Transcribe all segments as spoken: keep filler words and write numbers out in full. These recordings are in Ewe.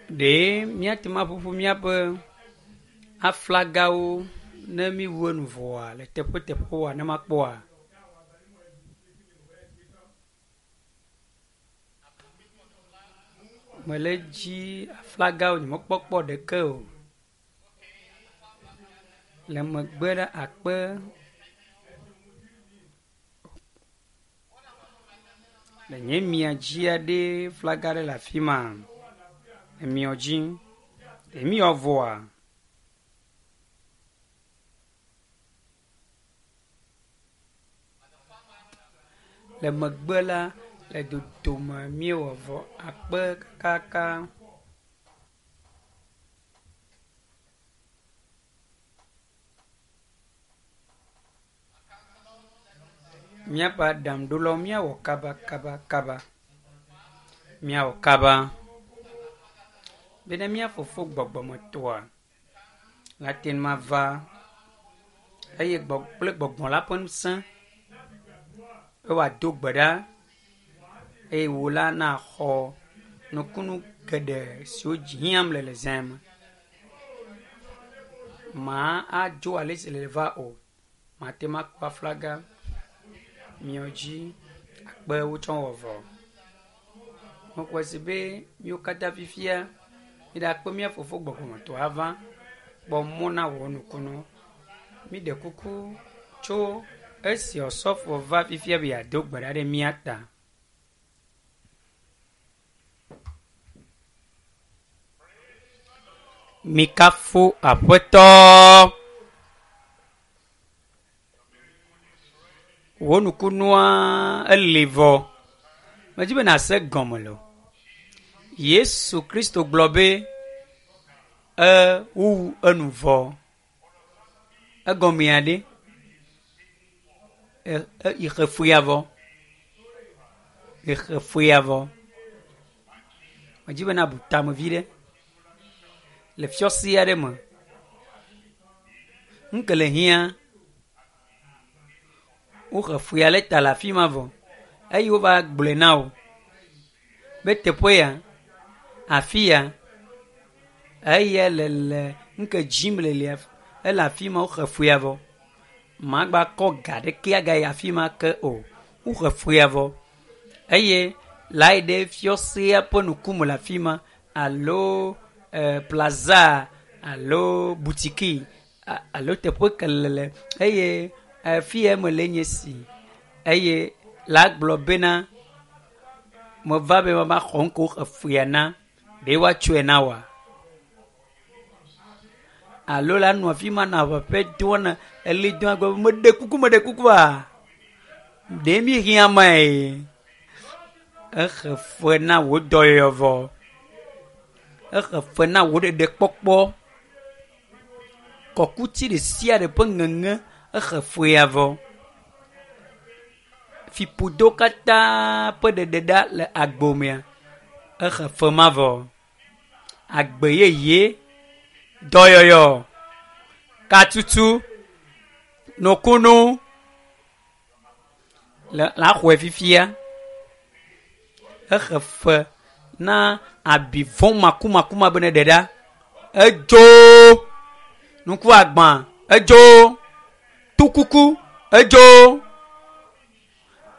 Ɖe míate ŋu aƒuƒu míaƒe aflagawo ne míwu enu vɔa le teƒeteƒewoa ne makpɔa? Mele dzi aflagawo nyemekpɔkpɔ ɖeke o. Le megbe ɖa akpe le nye mia dzia ɖe flaga ɖe le afi ma. Emiɔ dzi. Emiɔ vɔa. Le megbe la le dodome míewɔ vɔ akpe kaka. Míaƒe aɖaŋuɖolawo míawɔ kaba kaba kaba. Míawɔ kaba. Bena mía fofo gbɔgbɔmetɔa nate ŋu ava eye gbɔ kple gbɔgbɔ la ƒe ŋusẽ be wòado gbe ɖa eye wò la naxɔ nukunu geɖe siwo dzi hiãm le le zã me. Maa adzo ale si le va o. Mate ŋu akpɔ aflaga miɔ dzi akpe wotsɔ wɔ vɔ. Mexɔe se be míwo katã fifia míɖakpe mía fofo gbɔgbɔmetɔ ava kpɔ mɔ na wɔ nukunu. Míɖe kuku tso esi osɔfo va fifia be yeado gbe ɖa ɖe mía ta. Mikafu aƒetɔ. Wò nukunua eli vɔ. Medzi be nàse gɔme lo. Yesu Kristo gblɔ be ewu enu vɔ. Egɔmea ɖe e e ixefuya vɔ. Ixefuya vɔ. Medzi be nabu tame vi ɖe le fiɔsi aɖe me. Nu ke le hiã woxe fuya le ta le afi ma vɔ eye wova gblɔe na wò be teƒe ya afi ya eya le le nu ke dzim le lia ele afi ma woxe fuya vɔ. Magba kɔ ga ɖeke agayi afi ma ke o. Woxe fuya vɔ eye la yi ɖe fiɔsia ƒe ŋkume le afi ma alo e, plaza alo butiki alo teƒe ke le le eye afi ya me le nye si eye la gblɔ bena meva be mava xɔ ŋko efuya na ɖe woatsɔe na wa alo la nɔ afi ma nɔ aʋaƒe doa na eli doa gblɔ be meɖe kuku meɖe kukua ɖe mi hiã mae exe fe na wò dɔyɔyɔ vɔ exe fe na wò ɖeɖekpɔkpɔ kɔkuti ɖe sia ɖe ƒe ŋeŋe exe fea vɔ fiƒodo katã ƒe ɖeɖeɖa le agbomea exe fe ma vɔ agbe yeye dɔyɔyɔ katutu nukunu le la xɔe fifia exe fe na abi vɔ makumakuma be ne ɖe ɖa edzo nuku agbã edzo tukuku edzo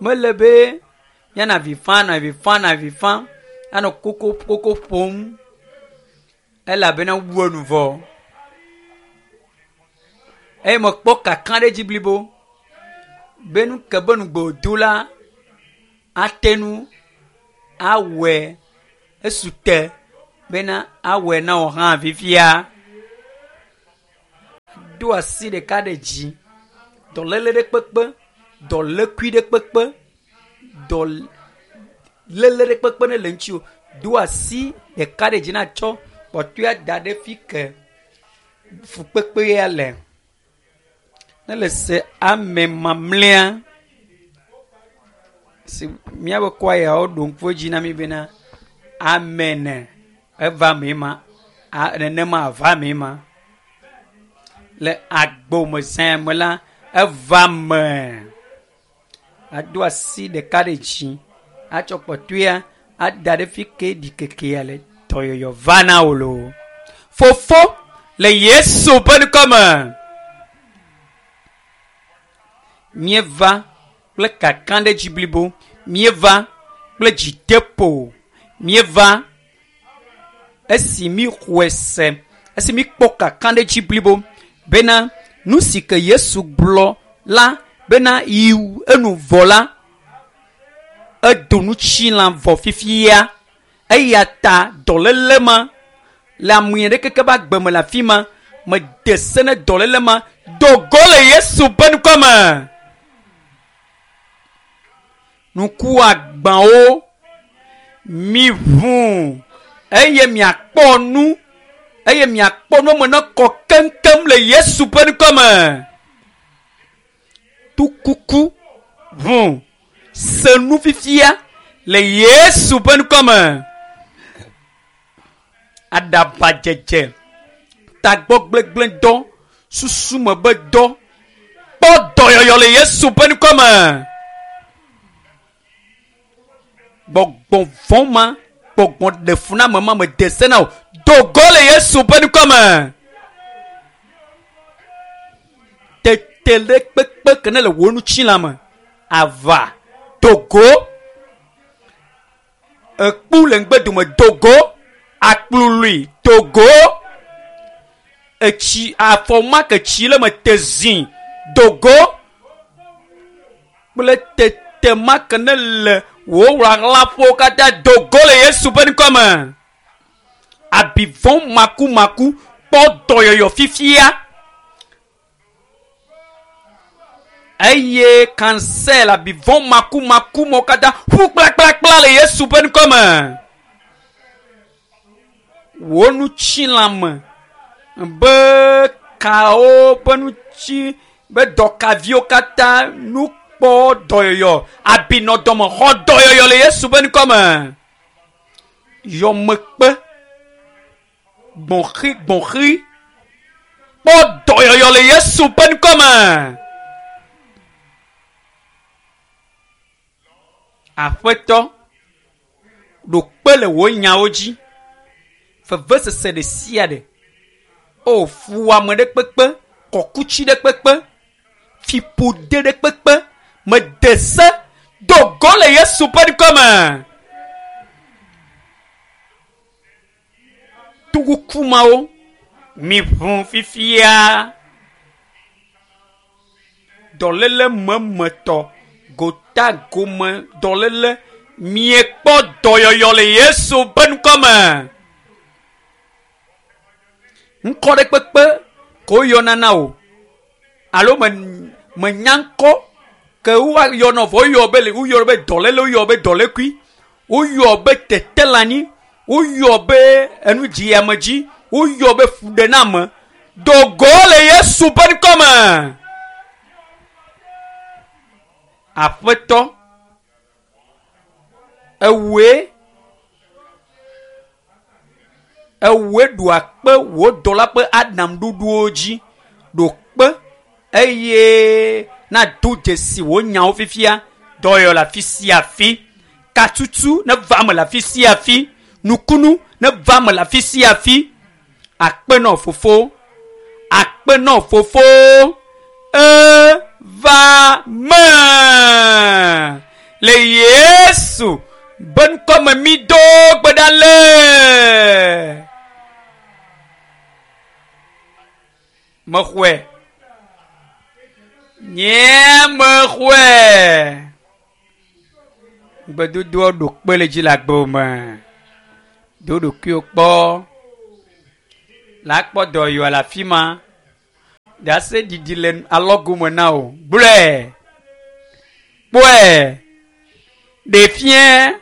mele be míanɔ avi fam anɔ avi fam anɔ avi fam anɔ koko koko ƒom elabena wu enu vɔ eye mekpɔ kaka ɖe dzi blibo be nu ke be nugbe wòdo la ate ŋu awɔe esu te bena awɔe na wò hã fifia. Do asi ɖeka ɖe dzi dɔléle ɖe kpekpe dɔlékui ɖe kpekpe dɔléle ɖe kpekpe ne le ŋuti o do asi ɖeka ɖe dzi natsɔ kpɔtɔea da ɖe fi ke fukpekpea le ne le se ame mamlɛa si míaƒe kɔayawo ɖo ŋku edzi na mi bena amen eva me ma a nenema ava me ma le agbome zã me la eva me ado asi ɖeka ɖe dzi atsɔ kpɔtɔea ada ɖe fi ke ɖikekea le Dɔyɔyɔ va na wò loo. Fofo le Yesu ƒe ŋkɔme. Míeva kple kakaɖedzi blibo. Míeva kple dzideƒo. Míeva esi míxɔe se, esi míkpɔ kakaɖedzi blibo bena nu si ke Yesu gblɔ la bena yi enu vɔ la, edo nutsilã vɔ fifia. Eya ta dɔléle ma le ame ɖe keke be agbe me le afi ma, mede se ne dɔléle ma do go le Yesu ƒe ŋkɔme. Ŋku agbawo mi ʋu eye miakpɔ nu eye miakpɔ nu me ne kɔ keŋkeŋ le Yesu ƒe ŋkɔme. Tukuku ʋu se nu fifia le Yesu ƒe ŋkɔme. Aɖabadzedze, tagbɔgblegblẽdɔ, susume be dɔ, kpɔ dɔyɔyɔ le Yesu ƒe ŋkɔme. Gbɔgbɔ vɔ̃ ma, gbɔgbɔ ɖefuname ma mede se na wò, do go le Yesu ƒe ŋkɔme. Tete ɖe kpekpe ke ne le wò ŋutilã me, ava do go. Ekpu le ŋgbedome do go. Akplului do go. Etsi afɔ ma ke tsi le me te zi do go. Kple tete ma ke ne le wò ɣlaɣlaƒewo katã do go le Yesu ƒe ŋkɔme. Abi vɔ̃ makumaku kpɔ dɔyɔyɔ fifia. Eye kansɛl abi vɔ̃ makumaku mɔ katã ƒu kplakplakpla le Yesu ƒe ŋkɔme. Wò ŋutilã me be kawo ƒe ŋuti be dɔkaviwo katã nu kpɔ dɔyɔyɔ abi nɔ dɔme xɔ dɔyɔyɔ le Yesu ƒe ŋkɔme. Yɔmekpe gbɔ̃xi gbɔ̃xi kpɔ dɔyɔyɔ le Yesu ƒe ŋkɔme. Aƒetɔ ɖo kpe le wò nyawo dzi. Vevesese ɖe sia ɖe. O fuwɔame ɖe kpekpe, kɔkutsi ɖe kpekpe, fiƒode ɖe kpekpe, mede se do go le Yesu ƒe ŋkɔme. Tukuku mawo mi ʋu fifia. Dɔléle memetɔ, gota gome dɔléle, miekpɔ dɔyɔyɔ le Yesu ƒe ŋkɔme. Ŋkɔ ɖe kpekpe ko woyɔna na wò alo me menya ŋkɔ ke woayɔna vɔ woyɔ be le woyɔ be dɔléle, woyɔ be dɔlékui, woyɔ be tetelanyi, woyɔ be enudziamedzi, woyɔ be fuɖename. Do go le Yesu ƒe ŋkɔme. Aƒetɔ, ewòe ewòe ɖo akpe wò dɔla ƒe aɖaŋuɖoɖowo dzi, ɖo kpe eye nado dzesi wò nyawo fifia. Dɔyɔ le afi sia afi, katutu neva eme le afi sia afi, nukunu neva eme le afi sia afi. Akpe nɔ fofo, akpe nɔ fofo, eva me le Yesu be ŋkɔme mi do gbe ɖa le. Mexɔe. Nye mexɔe. Gbedodoa ɖo kpe le dzi le agbe me. Do ɖokuiwò kpɔ. La kpɔ dɔyɔa le afi ma. Ɖase ɖiɖi le alɔgome na wò. Gblɔe. Kpɔe. Ɖe fia.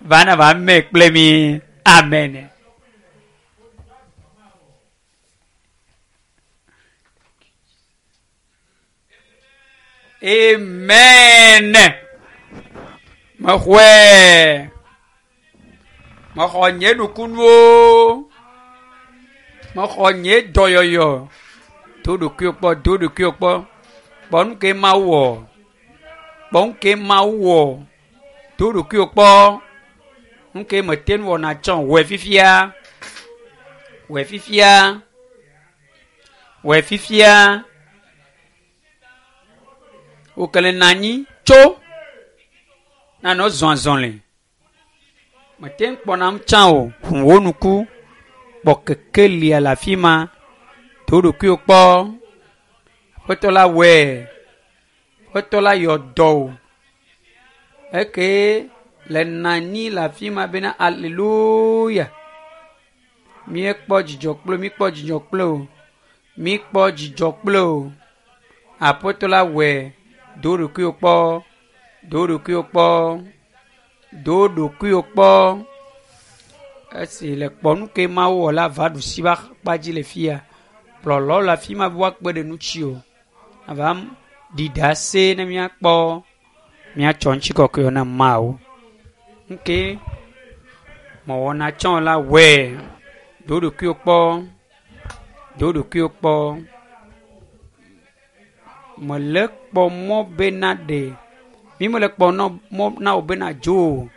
Va na va me kple mi. Amen. Amen. Mexɔe. Mexɔ nye nukunuwo. Mexɔ nye dɔyɔyɔ. Do ɖokuiwò kpɔ, do ɖokuiwò kpɔ. Kpɔ nu ke Mawu wɔ. Kpɔ nu ke Mawu wɔ. Do ɖokuiwò kpɔ. Nuke mete nu wɔna tsɔ wɔe fifia. Wɔe fifia. Wɔe fifia. Wòkele nɔ anyi tso nanɔ zɔn azɔli. Mete ŋu kpɔnam tsã o. Ʋu wò ŋku. Kpɔ kekelia le afi ma. Do ɖokuiwò kpɔ. Aƒetɔ la wɔe. Aƒetɔ la yɔ dɔ wò. Eke le nɔ anyi le afi ma bena aleluya. Míekpɔ dzidzɔ kple míkpɔ dzidzɔ kple o. Míkpɔ dzidzɔ kple o. Aƒetɔ la wɔe. Do ɖokuiwò kpɔ. Do ɖokuiwò kpɔ. Do ɖokuiwò kpɔ. Esi le kpɔ nu ke Mawu wɔ la va ɖusi be akpa dzi le fia. Kplɔlawo le afi ma be woakpe ɖe ŋuti o. Ava ɖi ɖase ne míakpɔ míatsɔ ŋutikɔkɔe na Mawu. Nke mewɔna tsɔ la wɔe. Do ɖokuiwò kpɔ. Do ɖokuiwò kpɔ. Mele kpɔ mɔ bena ɖe. Mi mele kpɔ mɔ na wò bena dzo o.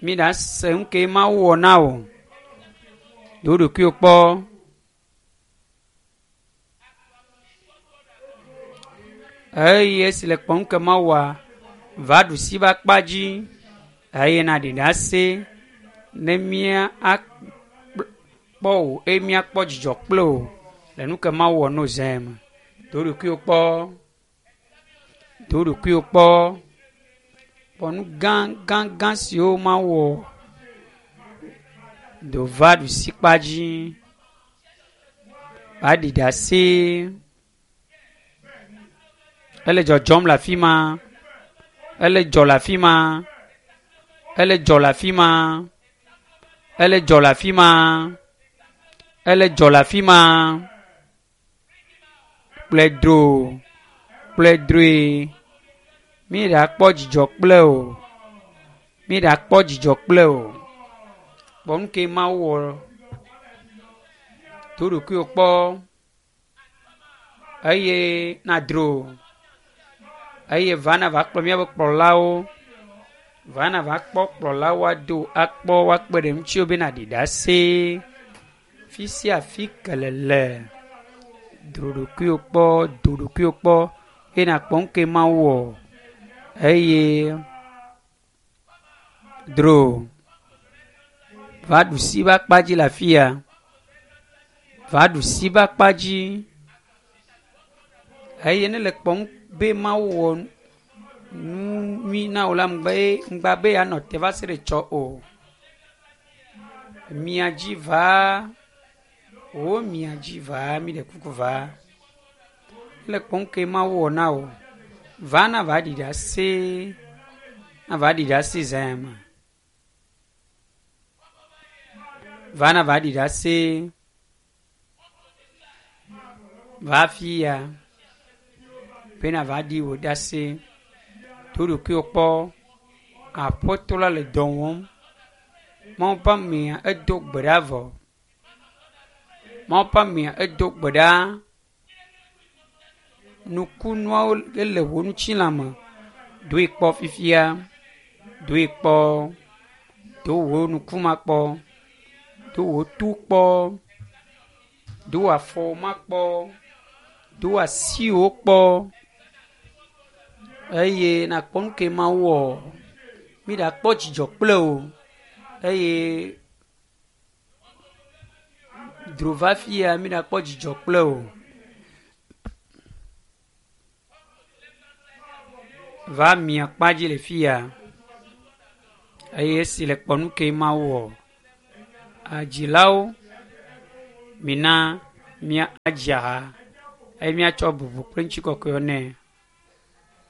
Mi ɖa se nu ke Mawu wɔ na wò. Do ɖokuiwò kpɔ. Eye esi le kpɔ nu ke Mawu wɔa, va ɖusi be akpa dzi eye naɖi ɖase ne mía akpɔ wò eye míakpɔ dzidzɔ kple wò le nu ke Mawu wɔ no zã me. Do ɖokuiwò kpɔ. Do ɖokuiwò kpɔ. Kpɔ nu gã gã gã siwo Mawu wɔ. Do va ɖusi kpa dzi. Va ɖi ɖase. Ele dzɔdzɔm le afi ma. Ele dzɔ le afi ma. Ele dzɔ le afi ma. Ele dzɔ le afi ma. Ele dzɔ le afi ma. Kplɔe dro. Kplɔe droe. Mi ɖakpɔ dzidzɔ kple o. Mi ɖakpɔ dzidzɔ kple o. Kpɔ nu ke Mawu wɔ. Do ɖokuiwò kpɔ. Eye nadro. Eye va na va kplɔ míaƒe kplɔlawo. Va na va kpɔ kplɔlawo ado akpɔ woakpe ɖe ŋutiwo bena ɖi ɖase. Fi sia fi ke le le. Dro ɖokuiwò kpɔ, do ɖokuiwò kpɔ eye nakpɔ nu ke Mawu wɔ. Eye dro. Va ɖusi be akpa dzi le afi ya. Va ɖusi be akpa dzi. Eye ne le kpɔm be Mawu wɔ nu nyui na wò la, ŋgba ŋgba be yeanɔ te va se ɖe tsɔ o. Mia dzi va. Wo mia dzi va. Mi ɖe kuku va. Le kpɔm ke Mawu wɔ na wò. Va na va ɖi ɖase. Na va ɖi ɖase zã me. Va na va ɖi ɖase. Va fia. Bena va ɖi wò ɖase. Do ɖokuiwò kpɔ. Aƒetɔ la le dɔ wɔm. Mawu ƒe amea edo gbe ɖa vɔ. Mawu ƒe amea edo gbe ɖa. Nukunuawo ele wò ŋutilã me. Doe kpɔ fifia. Doe kpɔ. Do wò ŋkume kpɔ. Do wò to kpɔ. Do wò afɔwo ma kpɔ. Do wò asiwò kpɔ. Eye nakpɔ nu ke Mawu wɔ. Mi ɖakpɔ dzidzɔ kple o. Eye dro va fia mi ɖakpɔ dzidzɔ kple o. Va mia kpa dzi le fia. Eye esi le kpɔ nu ke Mawu wɔ. Adzilawo mina mía adzi ha eye míatsɔ bubu kple ŋutikɔkɔe nɛ.